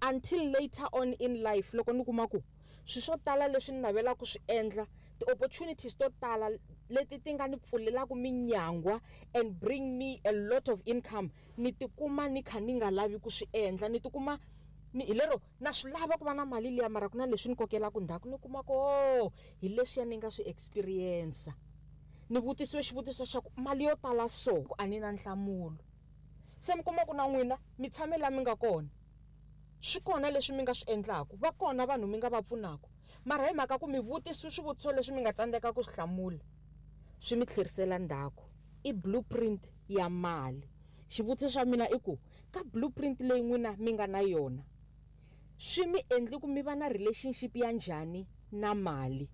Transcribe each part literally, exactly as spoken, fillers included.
Until later on in life loko ni kuma ku swilo swo tala leswi ni navelaka ku swi endla, ti-opportunities to tala leti ti nga ni pfulelaka minyangwa and bring me a lot of income, ni tikuma ni kha ni nga lavi ku swi endla. Ni tikuma ni hi lero na swi lava ku va na mali liya, mara ku na leswi ni kokelaka ndzhaku, ni kuma ku oh, hi leswiya ni nga swi experience. Ni vutisiwe xivutiso xa ku mali yo tala so, a ni na nhlamulo. Se mi kuma ku na n'wina mi tshame laha mi nga kona, swi kona leswi mi nga swi endlaku, va kona vanhu mi nga va pfunaka, mara hi mhaka ku mi vutisiwe swivutiso leswi mi nga tsandzeka ku swi hlamula, swi mi tlherisela ndzhaku. I blueprint ya mali. Xivutiso xa mina i ku ka blueprint leyi n'wina mi nga na yona, swi mi endli ku mi va na relationship ya njhani na mali?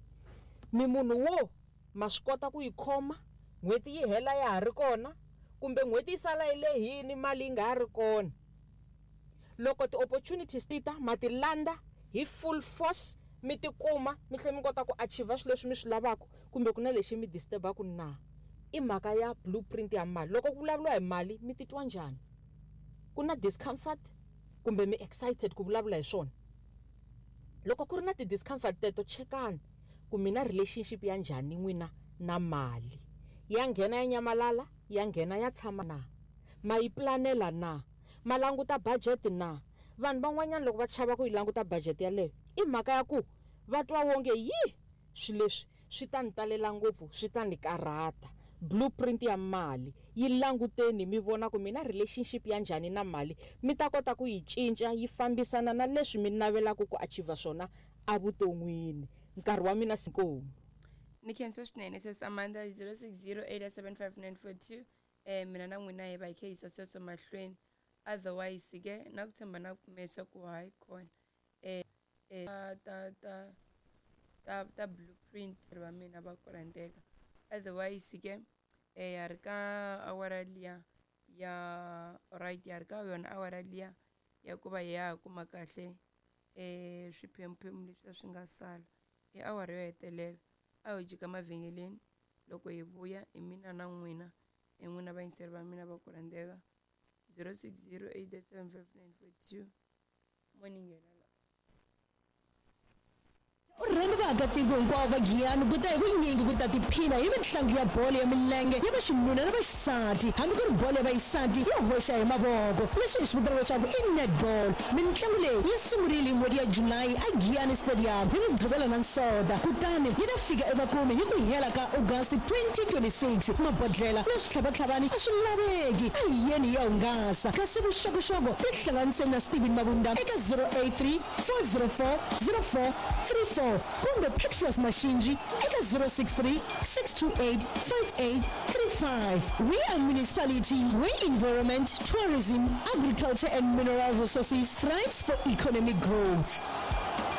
Mi munhu wo ma swi kota ku yi khoma n'hweti yi hela ya ha ri kona, kumbe n'hweti yi sala yi lehini mali yi nga ha ri kona? Loko ti-opportunities ti ta, ma ti landza hi full force, mi tikuma mi tlhela mi kota ku achieve swilo leswi mi swi lavaka, kumbe ku na lexi mi disturb-aku na? I mhaka ya blueprint ya mali. Loko ku vulavuriwa hi mali mi titwa njhani? Ku na discomfort kumbe mi excited ku vulavula hi swona? Loko ku ri na ti-discomfort teto, chekani ku mi na relationship ya njhani n'wina na mali. Ya nghena ya nyamalala, ya nghena ya tshama na? Ma yi planela na? Ma languta budget na? Vanhu van'wanyana loko va chava ku yi languta budget yaleyo, i mhaka ya ku va twa wonge yi swilo leswi swi ta ni talela ngopfu, swi ta ni karhata. Blueprint ya mali yi languteni, mi vona ku mi na relationship ya njhani na mali, mi ta kota ku yi cinca yi fambisana na leswi mi navelaka ku achieve swona evuton'wini. Nkarhi wa mina inkomu. Ni khensa swinene sis Amanda. Zero six zero eight seven five nine four two. eh mina na n'wina hi va hi kha hi yisa sweswo mahlweni. Otherwise ke na ku tshemba na ku pfumela swa ku hayi kona eh eh ta ta ta ta blueprint va mina va ku rhandzeka. Otherwise ke eh ya ri ka awara liya ya right, ya ri ka yona awara liya ya ku va hi ya kuma kahle eh swiphemuphemu leswi swi nga sala i awara yo hetelela. A hi jika mavhengeleni, loko hi vuya hi mina na n'wina, hi n'wina vayingiseri va mina va ku rhandzeka. Zero six zero eight seven five nine four two mo ni nghena la. U rhembe vaakatiko hinkwavo va Giyani ku ta hi vunyingi ku ta tiphina hi mitlangu ya bolo ya milenge ya vaxinuna na vaxisati, hambi ku ri bolo ya vaxisati yo hoxa hi mavoko, leswi hi swi vitanaka leswaku i netball. Mitlangu leyi yi sungurile hi n'hweti ya Julayi eGiyani Stadium hi Mugqivela na Nsonta, kutani yi ta fika emakumu hi ku hela ka August twenty twenty-six. Mabodlela na switlhavatlhavani a swi laveki, a hi yeni hi ya hungasa. Kasi vuxokoxoko tihlanganiseni na Steven Mabunda eka zero eight three four zero four zero four three four kumbe Petros Mashinji eka zero six three six two eight five eight three five. We are municipality where environment, tourism, agriculture and mineral resources thrives for economic growth.